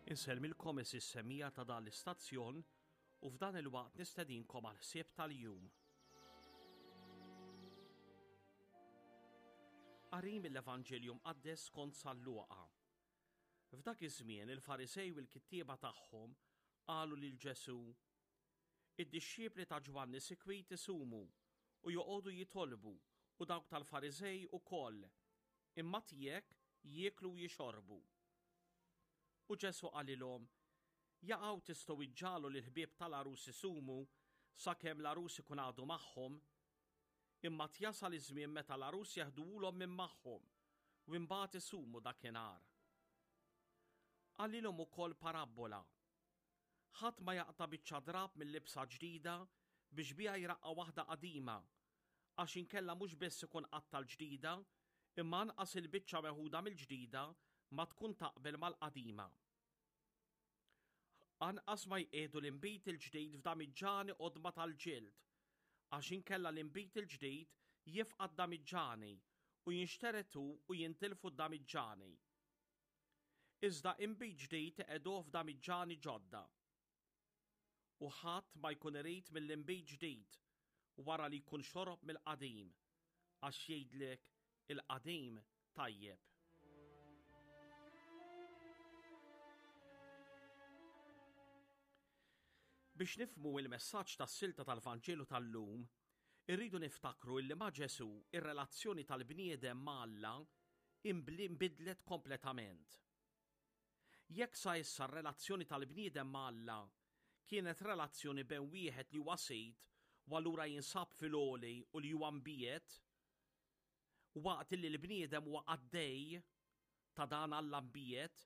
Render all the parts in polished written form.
Insellmilkom is semija ta' dan l-istazzjon u f'dan il-waqt nistedinkom għal ħsieb tal-jum. Qari mill-Evanġelju Mqaddes skont San Luqa. F'dak iż-żmien il-Farisej u l-kittieba tagħhom qalu lil Ġesù, Id-dixxipli ta' Ġwanni sikwit isumu u joqogħdu jitolbu u dawk tal-Fariżej ukoll, imma tiegħek jieklu u jixorbu. U Ġesù qalilhom, Jaqaw tistgħu iġġagħlu lill-ħbieb tal-għarus isumu sakemm l-għarus ikun għadu magħhom? Imma tjasal iż-żmien meta l-għarus jeħduhulhom minn magħhom, u imbagħad isumu dakinhar. Qalilhom ukoll parabbola, Ħadd ma jaqta' biċċa drapp minn libsa ġdida biex biha jraqqa' waħda qadima, għax inkella mhux biss ikun qatta' l-ġdida, imma anqas il-biċċa meħuda mill-ġdida ma tkun taqbel mal-qadima. Anqas ma jqiegħdu l-inbid il-ġdid f'damiġġani qodma tal-ġild, għax inkella l-inbid il-ġdid jifqa' d-damiġġani u jinxtered hu u jintilfu d-damiġġani. Iżda inbid ġdid iqegħduh f'damiġġani ġodda. U ħadd ma jkun irid mill-inbid ġdid wara li jkun xorob mill-qadim, għax jgħidlek il-qadim tajjeb. Biex nifhmu il-messaġġ tas-silta tal-Vanġelu tal-lum, irridu niftakru illi ma' Ġesù ir-relazzjoni tal-bniedem ma' Alla inbidlet kompletament. Jekk sa issa r-relazzjoni tal-bniedem ma' Alla kienet relazzjoni bejn wieħed li huwa sid u allura jinsab fil-għoli u li huwa mbiegħed, waqt illi l-bniedem huwa qaddej ta' dan Alla mbiegħed,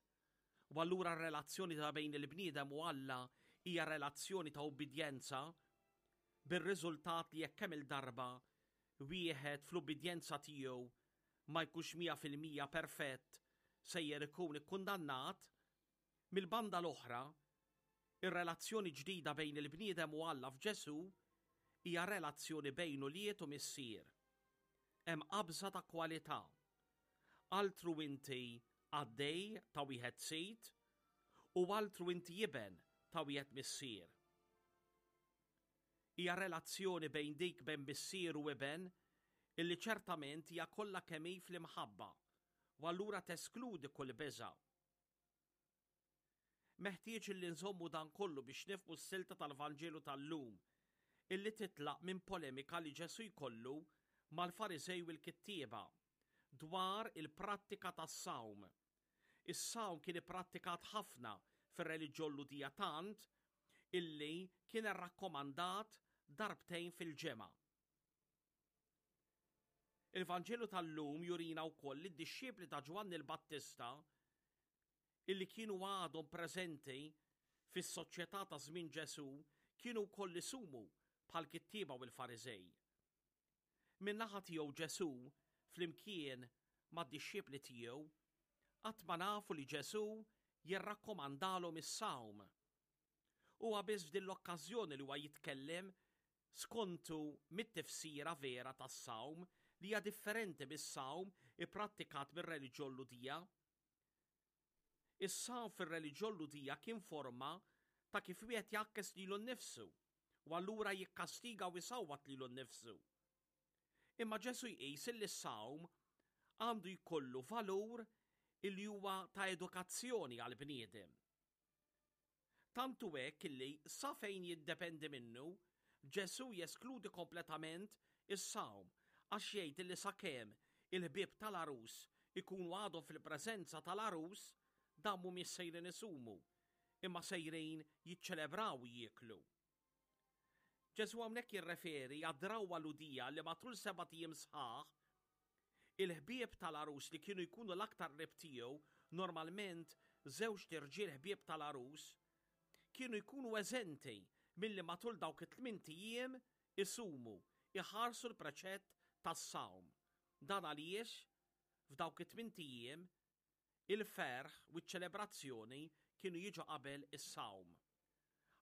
u allura r-relazzjoni ta' bejn il-bniedem u Alla hija relazzjoni ta' ubbidjenza, bir-riżultat li jekk kemm-il darba wieħed fl-ubbidjenza tiegħu ma jkunx 100% perfett sejjer ikun ikkundannat, mill-banda l-oħra, ir-relazzjoni ġdida bejn il-bniedem u Alla f'Ġesù hija relazzjoni bejn ulied u missier. Hemm qabża ta' kwalità. Altru inti qaddej ta' wieħed sid u altru inti iben ta' wieħed missier. Hija relazzjoni bejn dik bejn missier u iben illi ċertament hija kollha kemm hi fl-imħabba u allura teskludi kull biża'. Meħtieġ illi nżommu dan kollu biex nifhmu s-silta tal-Vanġelu tal-lum illi titlaq minn polemika li Ġesù jkollu mal-Fariżej u l-kittieba dwar il-prattika tas-sawm. Is-sawm kien ipprattikat ħafna fir-reliġjon Lhudija tant illi kien rrakkomandat darbtejn fil-ġimgħa. Il-Vanġelu tal-lum jurina wkoll li d-dixxipli ta' Ġwanni l-Battista illi kienu għadhom preżenti fis-soċjetà ta' żmien Ġesù kienu wkoll isumu bħall-kittieba u l-Fariżej. Min-naħa tiegħu Ġesù, flimkien mad-dixxipli tiegħu, qatt ma nafu li Ġesù jirrakkomandalhom is-sawm. Huwa biss f'din l-okkażjoni li huwa jitkellem skontu mit-tifsira vera tas-sawm li hija differenti mis-sawm ipprattikat mir-reliġjon Lhudija. Is-sawm fir-reliġjon Lhudija kien forma ta' kif wieħed jgħakkes lilu nnifsu u allura jikkastiga u jsawwat lilu nnifsu. Imma Ġesù jqis illi s-sawm għandu jkollu valur illi huwa ta' edukazzjoni għall-bniedem. Tant hu hekk illi sa fejn jiddependi minnu, Ġesù jeskludi kompletament is-sawm għax jgħid illi sakemm il-ħbieb tal-għarus ikunu għadhom fil-preżenza tal-għarus, dawn mhumiex sejrin isumu, imma sejrin jiċċelebraw u jieklu. Ġesù hawnhekk jirreferi għad-drawwa Lhudija li matul sebat ijiem sħaħ, il-ħbieb tal-għarus li kienu jkunu l-aktar qrib tiegħu, normalment żewġt irġiel ħbieb tal-għarus, kienu jkunu eżenti milli matul dawk it-tmint ijiem isumu, iħarsu l-preċett tas-sawm. Dan għaliex f'dawk it-tmint ijiem Il-ferħ u ċ-ċelebrazzjoni kienu jiġu qabel is-sawm.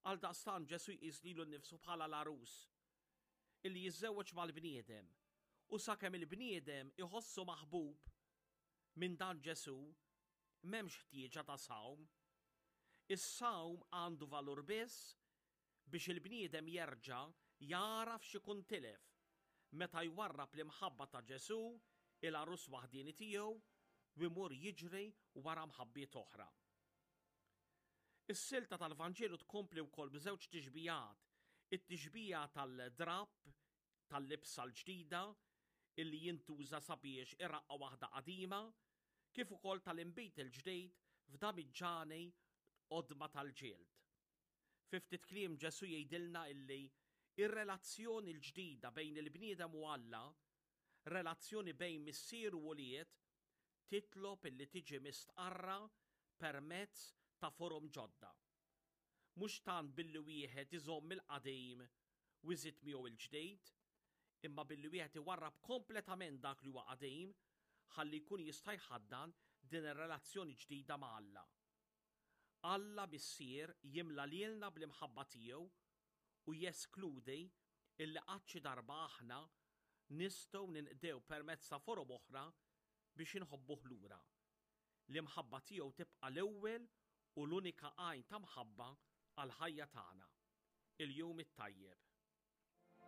Għaldaqstant Ġesù jqis lilu nnifsu bħala l-għarus illi jiżżewweġ mal-bniedem u sakemm il-bniedem iħossu maħbub minn dan Ġesù, m'hemmx ħtieġa ta' sawm. Is-sawm għandu valur biss biex il-bniedem jerġa' jagħraf x'ikun tilef meta jwarrab l-imħabba ta' Ġesù, il-għarus waħdieni tiegħu, u jmur jiġri wara mħabbiet oħra. Is-silta tal-Vanġelu tkompli wkoll b'żewġ tixbihat, it-tixbiha tal-drapp tal-libsa l-ġdida illi jintuża sabiex iraqqa' waħda qadima, kif ukoll tal-inbid il-ġdid f'damiġġani qodma tal-ġild. Fi ftit kliem Ġesù jgħidilna illi r-relazzjoni l-ġdida bejn il-bniedem u Alla, relazzjoni bejn missier u ulied, titlob illi tiġi mistqarra permezz ta' forom ġodda. Mhux tant billi wieħed iżomm il-qadim u jżid miegħu l-ġdid, imma billi wieħed iwarrab kompletament dak li huwa qadim ħalli jkun jista' jħaddan din ir-relazzjoni ġdida ma' Alla. Alla Missier jimla lilna bl-imħabba tiegħu u jeskludi illi qatt xi darba aħna nistgħu ninqdew permezz ta' forom oħra biex inħobbuh lura. L-imħabba tiegħu tibqa' l-ewwel u l-unika għajn ta' mħabba għall-ħajja tagħna. Il-Jum it-Tajjeb.